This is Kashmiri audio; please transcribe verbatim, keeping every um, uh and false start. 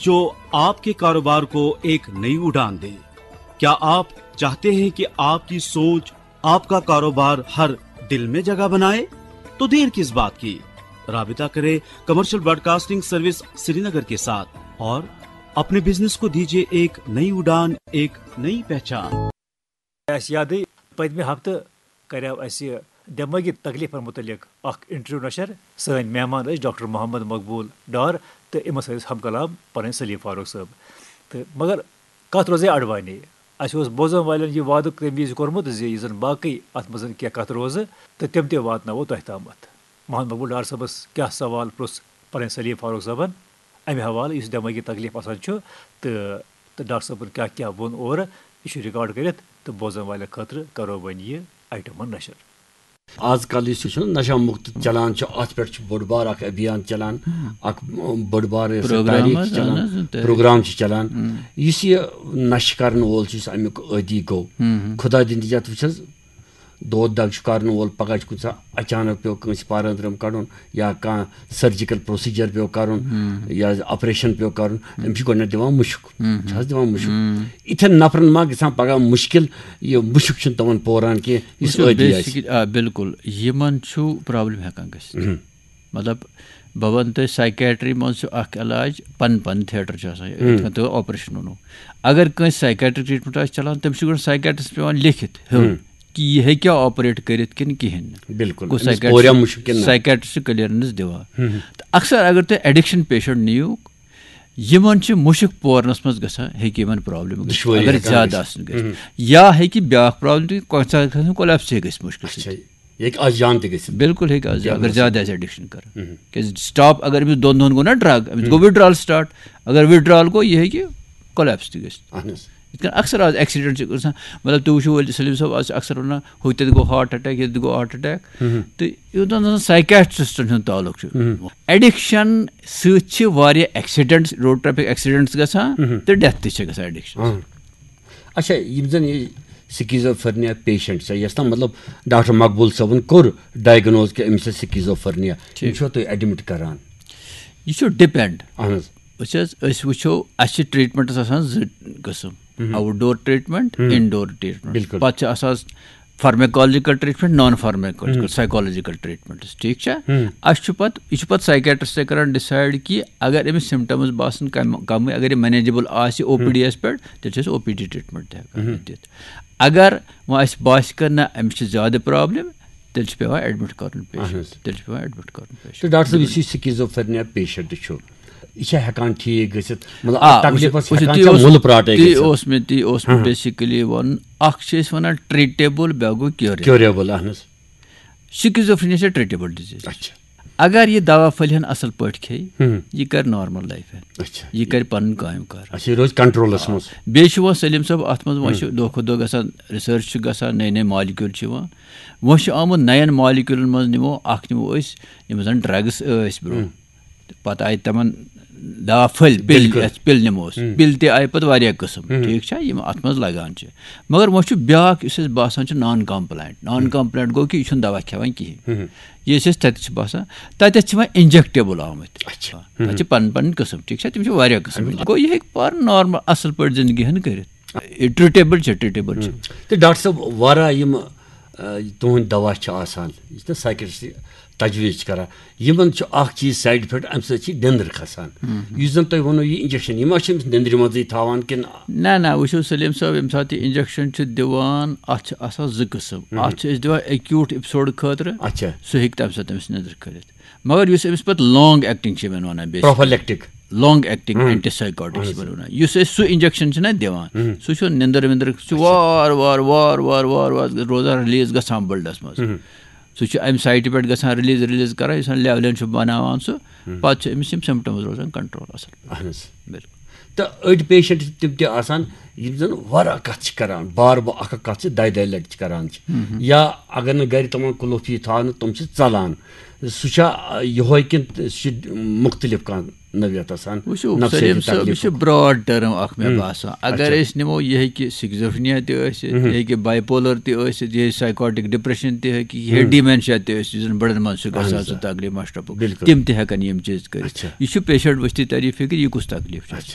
जो आपके कारोबार को एक नई उड़ान दे। क्या आप चाहते हैं कि आपकी सोच आपका कारोबार हर डील में जगह बनाए? तो देर किस बात की, राबिता करें कमर्शियल ब्रॉडकास्टिंग सर्विस श्रीनगर के साथ और अपने बिजनेस को दीजिए एक नई उड़ान, एक नई पहचान। اَسہِ یادٕے، پٔتمہِ ہفتہٕ کریو اَسہِ دٮ۪مٲغی تکلیفن مُتعلق اکھ انٹرویو نشر۔ سٲنۍ مہمان ٲسۍ ڈاکٹر محمد مقبول ڈار تہٕ یِمن سۭتۍ ٲسۍ ہم کلام پنٕنۍ سلیٖم فاروق صٲب۔ تہٕ مگر کتھ روزے اڈوانی۔ اَسہِ اوس بوزن والٮ۪ن یہِ وعدٕ تَمہِ وِزِ کوٚرمُت زِ یہِ زن باقٕے اتھ منٛز کینٛہہ کتھٕ روزٕ تہٕ تِم تہِ واتناوو تۄہہِ تامتھ۔ محمد مقبول ڈار صٲبس کیٛاہ سوال پرُژھ پنٕنۍ سلیٖم فاروق صٲبن امہِ حوالہٕ، یُس دٮ۪مٲغی تکلیف آسان چھُ، تہٕ تہٕ ڈاکٹر صٲبن کیٛاہ کیٛاہ ووٚن اورٕ، یہِ چھُ ریکارڈ کٔرِتھ تہٕ بوزن والٮ۪ن خٲطرٕ کرو وۄنۍ یہِ آیٹم نشر۔ آز کل یُس یہِ چھُ نشہ مُکت چلان چھُ، اتھ پٮ۪ٹھ چھُ بوٚڑ بار اکھ ابھیان چلان، اکھ بٔڑ بار یۄس یہِ پروگرام تحریٖک حظ، چھِ چلان، اہن حظ، تحریٖک۔ پروگرام چھِ چلان۔ یُس یہِ نشہٕ کرن وول چھُ، یُس امیُک عٲدی گوٚو، خدا دِنتہٕ یتھ وٕچھ حظ، دود دگ چھُ کرن وول، پگاہ چھُ کُنہِ ساتہٕ اچانک پیوٚو کٲنٛسہِ پارٕ أنٛدرم کڑُن یا کانٛہہ سرجیکل پروسیجر پیوٚو کرُن یا آپریشن پیوٚو کرُن، أمِس چھُ گۄڈٕنٮ۪تھ دِوان مُشُک، چھِ حظ دِوان مُشُک۔ یِتھٮ۪ن نفرن ما گژھان پگاہ مُشکل، یہِ مُشُک چھُنہٕ تِمن پوران کینٛہہ یُس وٕچھِو، عٲدی آسہِ؟ بیسکلی، آ، بالکل، یِمن چھُ پرابلم ہیٚکان گٔژھِتھ۔ مطلب، بہٕ وَنہٕ تۄہہِ، سایکیٹری منٛز چھُ اکھ علاج، پن پن تھیٹر چھُ آسان، یِتھ کٔنۍ تۄہہِ آپریشن ووٚنوُ۔ اگر کٲنٛسہِ سایکیٹرک ٹریٹمنٹ آسہِ چلان، تٔمِس چھُ گۄڈٕ سایکیٹرس پٮ۪وان لیکھِتھ ہیوٚن کہِ یہِ ہیٚکیٛاہ آپریٹ کٔرِتھ کِنہٕ کِہیٖنۍ نہٕ۔ بالکل، گوٚو أمِس سایکیٹرس پوریا مُشُک کِنہٕ نہ؟ سایکیٹرس چھُ کلیئرنس دِوان۔ تہٕ اکثر اگر تُہۍ ایڈکشن پیشنٹ نِیِو، یِمن چھِ مُشُک پورنس منٛز گژھان، ہیٚکہِ یِمن پرابلم گٔژھِتھ، دُشوٲری اگر ہیٚکان زیادٕ گٔژھِتھ۔ آسن گٔژھِتھ۔ یا ہیٚکہِ بیٛاکھ پرابلم تہِ، کُنہِ ساتہٕ گژھِ کولیپس ہیٚکہِ گٔژھِتھ مُشکل اچھا، سۭتۍ۔ یہِ ہیٚکہِ از جان تہِ گٔژھِتھ۔ بالکل ہیٚکہِ از، کیٛاہ اگر گوٚو؟ زیادٕ آسہِ ایڈکشن کران۔ کیازِ سٹاپ، اگر أمِس دۄن دۄہن گوٚو نا ڈرگ، أمِس گوٚو وِدڈرال سٹارٹ۔ اگر وِدڈرال گوٚو، یہِ ہیٚکہِ کولیپس تہِ گٔژھِتھ۔ اہن حظ۔ یِتھ کٔنۍ اکثر آز ایکسیڈنٹ چھِ گژھان، مطلب، تُہۍ وٕچھِو ؤلۍ سلیٖم صٲب، آز چھِ اکثر وَنان، ہُتٮ۪تھ گوٚو ہارٹ اٹیک، ییٚتٮ۪تھ گوٚو ہارٹ اٹیک۔ تہٕ یوٗتاہ نہٕ سایکیٹرسٹن ہُنٛد تعلق چھُ۔ ایڈکشن سۭتۍ چھِ واریاہ ایکسیڈنٹس، روڈ ٹریفک ایکسیڈنٹس گژھان تہٕ ڈیتھ تہِ چھِ گژھان ایڈکشن۔ اچھا، یِم زن یہِ سکیزوفرنیا پیشنٹ چھِ، یۄس تام مطلب ڈاکٹر مقبول صٲبن کوٚر ڈائگنوز کہِ أمِس چھِ سکیزوفرنیا، یِم چھِوا تُہۍ ایڈمٹ کران؟ یہِ چھُ ڈِپینڈ۔ اہن حظ۔ وٕچھ حظ، أسۍ وٕچھو، اَسہِ چھِ ٹریٹمنٹس آسان زٕ قٕسم، آوُٹ ڈور ٹریٹمنٹ، انڈور ٹریٹمنٹ۔ بالکل۔ پتہٕ چھِ آسان فارمیکولوجیکل ٹریٹمنٹ، نان فارمیکولوجیکل، سایکولوجیکل ٹریٹمنٹس، ٹھیٖک چھا؟ اَسہِ چھُ پتہٕ، یہِ چھُ پتہٕ سایکیٹرسٹے کران ڈِسایڈ کہِ اگر أمِس سمٹمز باسان کم، کمٕے، اگر یہِ مینیجیبل آسہِ او پی ڈی یس پٮ۪ٹھ، تیٚلہِ چھِ أسۍ او پی ڈی ٹریٹمنٹ تہِ ہٮ۪کان دِتھ۔ اگر وۄنۍ اَسہِ باسہِ کہِ نہ، أمِس چھِ زیادٕ پرابلم، تیٚلہِ چھُ پٮ۪وان ایڈمٹ کرُن پیشنٹ، تیٚلہِ چھُ پٮ۪وان ایڈمٹ کرُن پیشنٹ۔ تہٕ ڈاکٹر صٲب، یُس یہِ سکیزوفرنیا پیشنٹ چھُ، یہِ چھا ہٮ۪کان ٹھیٖک گٔژھِتھ؟ مطلب، آ، اتھ تکلیفس وٕچھِو، وٕچھِو، ہٮ۪کان تی چھا اوس، مُلہٕ پراٹے تی گٔژھِتھ؟ اوس مےٚ، تی اوس مےٚ بیسکلی وَنُن، اکھ چھِ أسۍ وَنان ٹریٹیبل، بیٛاکھ گوٚو کیوریبل۔ کیوریبل، اہن حظ۔ سکیزوفرینیا چھِ ٹریٹیبل ڈیزیز۔ اچھا۔ اگر یہِ دوا پھٔلۍ ہن اصل پٲٹھۍ کھیٚیہِ، ہم۔ یہِ کرِ نارمل لایف۔ اچھا۔ یہِ کرِ پنُن کامہِ کار۔ اچھا، یہِ روزِ کنٹرولس منٛز۔ بیٚیہِ چھُ وۄنۍ سلیٖم صٲب، اتھ منٛز وۄنۍ چھُ دۄہ کھۄتہٕ دۄہ گژھان، ریسرچ چھِ گژھان، نٔے نٔے مالیکیول چھِ یِوان۔ وۄنۍ چھُ آمُت نَین مالیکیولن منٛز، نِمو اکھ، نِمو أسۍ یِم زن ڈرگس ٲسۍ برونٛہہ۔ پتہٕ آیہِ تِمن دوا پھٔلۍ، پِل، بِلکُل۔ یتھ پِل نِمو أسۍ۔ پِل تہِ آیہِ پتہٕ واریاہ قٕسم، ٹھیٖک چھا؟ یِم اتھ منٛز لگان چھِ۔ مگر وۄنۍ چھُ بیٛاکھ، یُس اَسہِ باسان چھُ نان کمپلاینٹ۔ نان کمپلاینٹ گوٚو کہِ یہِ چھُنہٕ دوا کھٮ۪وان کِہیٖنۍ۔ یہِ أسۍ اَسہِ تَتہِ چھِ باسان، تَتٮ۪تھ چھِ وۄنۍ انجیکٹیبل آمٕتۍ۔ اچھا۔ تَتہِ چھِ پنٕنۍ پنٕنۍ قٕسم، ٹھیٖک چھا؟ تِم چھِ واریاہ قٕسم۔ گوٚو، یہِ ہیٚکہِ پانہٕ نارمل اصل پٲٹھۍ زندگی ہن کٔرِتھ۔ ٹریٹیبل چھِ، ٹریٹیبل چھِ۔ تہٕ ڈاکٹر صٲب، واریاہ یِم، آ، تُہٕنٛدۍ دوا چھِ آسان، یُس تہِ سایکیٹرسٹ تجویز چھِ کران، یِمن چھُ اکھ چیٖز سایڈ افیکٹ، امہِ سۭتۍ چھِ نیندٕر کھسان۔ یُس زن تۄہہِ ووٚنوُ، یہِ انجیکشن، یہِ ما چھِ أمِس نیندرِ منٛزٕے تھاوان کِنہٕ؟ نہ، نہ، وٕچھِو سلیٖم صٲب، ییٚمہِ ساتہٕ یہِ انجیکشن چھِ دِوان، اتھ چھِ آسان زٕ قٕسم۔ اتھ چھِ أسۍ دِوان ایکیوٗٹ ایپسوڈ خٲطرٕ، اچھا۔ سُہ ہیٚکہِ تمہِ ساتہٕ أمِس نیندٕر کھٔلِتھ۔ مگر یُس أمِس پتہٕ لانگ ایکٹنگ چھِ یِمن ونان، basically prophylactic. Long acting antipsychotic چھِ یِمن ونان۔ یُس أسۍ سُہ انجیکشن چھِنہ دِوان، سُہ چھُ نیندٕر ویندٕر، سُہ چھُ وار وار وار وار وار وار روزان، رِلیٖز گژھان بٕلڈس منٛز۔ سُہ چھُ امہِ سایٹہِ پٮ۪ٹھ گژھان رِلیٖز، رِلیٖز کران، یُس لیولین چھُ بناوان سُہ۔ پتہٕ چھِ أمِس یِم سمٹمز روزان کنٹرول اصل پٲٹھۍ۔ اہن حظ۔ بِلکُل۔ تہٕ أڑۍ پیشنٹ چھِ تِم تہِ آسان، یِم زن واریاہ کتھ چھِ کران، بار بار اکھ اکھ کتھ چھِ دۄیہِ دۄیہِ لٹہِ چھِ کران چھِ۔ یا اگر نہٕ گرِ تِمن کُلف یی تھاونہٕ، تِم چھِ ژلان۔ سُہ چھا، آ، یِہوے کِنہٕ سُہ چھُ مُختٔلِف کانٛہہ نوعیت آسان؟ وٕچھِو نفسیٲتی سلیم صٲب، یہِ چھُ تکلیٖفُک؟ براڈ ٹٔرم اکھ مےٚ ہم۔ باسان۔ اگر اچھا۔ أسۍ نِمو، یہِ ہیٚکہِ سکزوفرینیا تہِ ٲسِتھ، ہم۔ یہِ ہیٚکہِ باے پولر تہِ ٲسِتھ، یہِ ہیٚکہِ سایکاٹک ڈپریشن تہِ ہیٚکہِ، یہِ ہم۔ ہیٚکہِ ڈیمینشیا تہِ ٲسِتھ، یُس زن بڑن منٛز چھُ اہن گژھان حظ، سُہ آ۔ تکلیٖف مشرفُک۔ بِلکُل۔ تِم تہِ ہیٚکن یِم چیٖز کٔرِتھ۔ اچھا۔ یہِ چھُ پیشنٹ ؤستی تری فکر، یہِ کُس تکلیٖف چھُ؟ اچھا۔